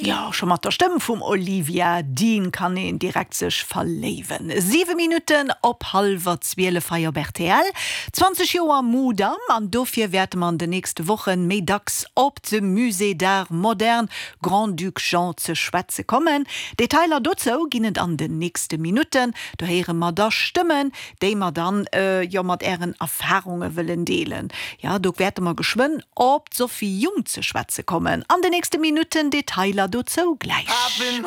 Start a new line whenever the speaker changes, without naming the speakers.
Jo, scho mat der Stëmm vum Olivia Dean kann een direkt sech verléiwen. 7 Minutten op hallwer 12 hei op rtl. 20 Joer Mudam an dofir wäerte mer an den nächste Wochen méi dacks op de Musée d'Art Moderne Grand-Duc Jean ze schwätze kommen. Detailer dozou ginn et an den nächste Minutten. Do héiere mer da Stëmmen, déi mer dann jo mat ären Erfarunge wëllen deelen. Jo, do wäerte mer geschwënn op d'Sophie Jung ze schwätze kommen an de nächste Minutten. Detailer dozou gläich.